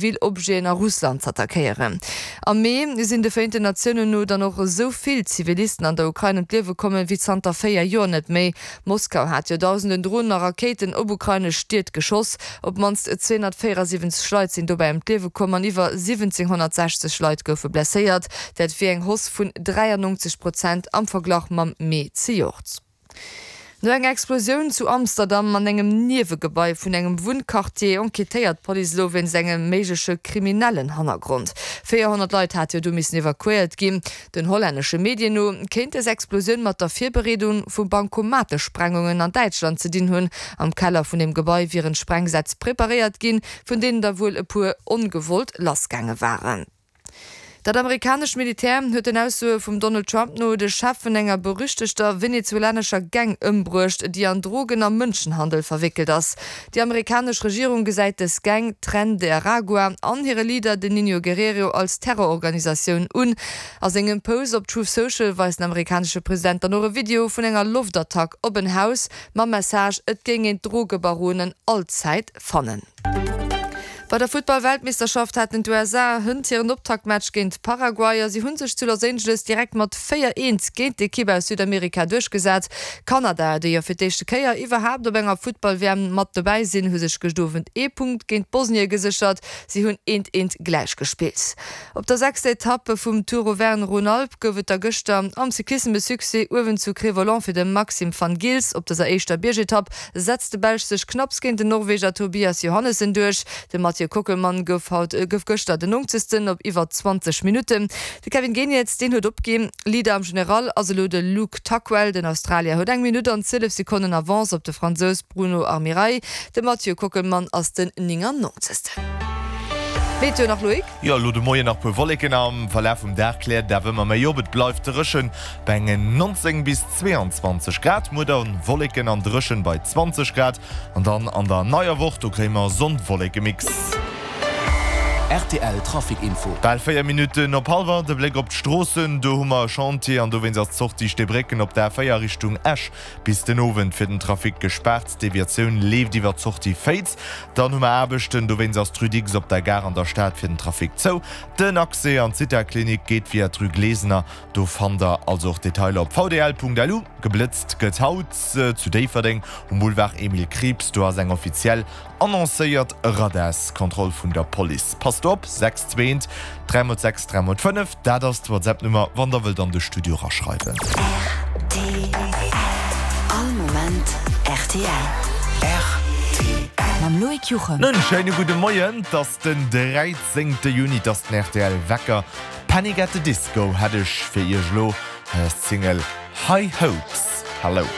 Zivil Objeten a Russland z'attackéieren. Am Mee sinn de Vereenten Natiounen no dann och esou vill Zivilisten an der Ukrain ëm d'Liewe kommen, wéi zanter 4 Joer net méi. Moskau hat jo dausenden Dronen a Rakéiten op ukrainesch Stied geschoss. Op d'mannst 274 Leit sinn dobäi ëm d'Liewe komm an iwwer 1.760 Leit goufe blesséiert. Dat wier eng Hausse vun 93 Prozent am Verglach mam Mee zejoert. No enger Explosioun zu Amsterdam an engem Niewegebai vun engem Wunnquartier enquêtéiert d'Police elo wéinst engem méigleche kriminellen Hannergrond. 400 Leit hate jo do missen evakuéiert ginn. Den hollännesche Medien no kéint dës Explosioun mat der Virbereedung vu Bankomatesprengungen an Däitschland ze dinn hunn. Am Keller vun dem Gebai wieren Sprengsätz preparéiert ginn, vun deenen der wuel e puer ongewollt lassgaange waren. Dat amerikanescht Militär huet den Aussoe vum Donald Trump no de Chef vun enger berüchtegter venezuelanescher Gang ëmbruecht, déi an Drogen a Mënschenhandel verwéckelt ass. Déi amerikanesch Regierung gesäit dës Gang, Tren de Aragua, an hire Leader, den Nino Guerrero, als Terrororganisatioun un. A sengem Post op Truth Social weist den amerikanesche President dann och e Video vun enger Loftattack op en Haus mam Message, et géing een d'Drogebaronen allzäit fannen. Bei der Futtball-Weltmeeschterschaft haten d'USA hënt hiren Optaktmatch géint Paraguay a si hu sech zu Los Angeles direkt mat 4, 1 géint d'Ekipp aus Südamerika duerchgesat. Kanada, déi jo fir d'éischte Kéier iwwerhaapt op enger Futtball-WM mat dobäi sinn, hu sech gëscht Owend ee Punkt géint Bosnie geséchert. Si hunn eent, eent gläich gespillt. Op der sechster Etapp vum Tour Auvergne-Rhône-Alpes gouf et da gëschter am Cyclissem e Succès uewen zu Cré-Volant fir de Maxim Van Gils. Op dëser éischter Biergetapp setzt de Belsch sech knapps géint den Norweger Tobias Johannessen duerch. De Mathieu Kockelmann gouf haut gouf gëschter den Nonkzegsten op iwwer 20 Minutten. De Kevin Geniets, deen huet opginn. Leader am General ass elo de Luke Tuckwell. Den Australier huet eng Minutt an 12 Sekonnen Avance op de Fransous Bruno Armirail. De Mathieu Kockelmann ass den 99. Meteo nach, Loïc? Jo, elo de Moien nach puer Wolleken, am Verlaf vum Dag kläert et awer ëmmer méi op. Et bleift dréchen bei engen 19 bis 22 Grad. Muer dann Wolleken an dréchen bei 20 Grad an dann an der neier Woch, do kréie mer Sonn-Wolleke-Mix. Rtl Trafic Info. Bal 4 Minutten op hallwer, de Bléck op d'Stroossen, do hu mer e Chantier an dowéinst ass d'Sortie Steebrécken op der A4 Richtung Esch Bis den Owend fir den Trafic gespaart. D'Deviatioun leeft iwwer d'Sortie Féiz. Dann hu mer Aarbechten, dowéinst ass d'Rue Dicks op der Gare an der Stad fir den Trafic zou. Den Accès an d'Zithaklinik geet via d'Rue Glesener. Do fannt der also och Detailer op vdl.lu. Geblëtzt gëtt haut zu Déifferdeng um Boulevard Emile Krieps. Do ass eng offiziell Annoncéiert Radarskontroll vun der Police. Passt op, 6 2 3 mol 6 3 mol 5, dat ass d'WhatsApp-Nummer, wann der wëllt an de Studio raschreiwen. Rtl, All Moment rtl. Rtl. Mam Loïc Juchem. En schéine gudde Moien, 't ass den 13. Juni, 't ass den rtl Wecker. Panic at the Disco hätt ech fir iech elo, hei ass d'Single High Hopes. Hello.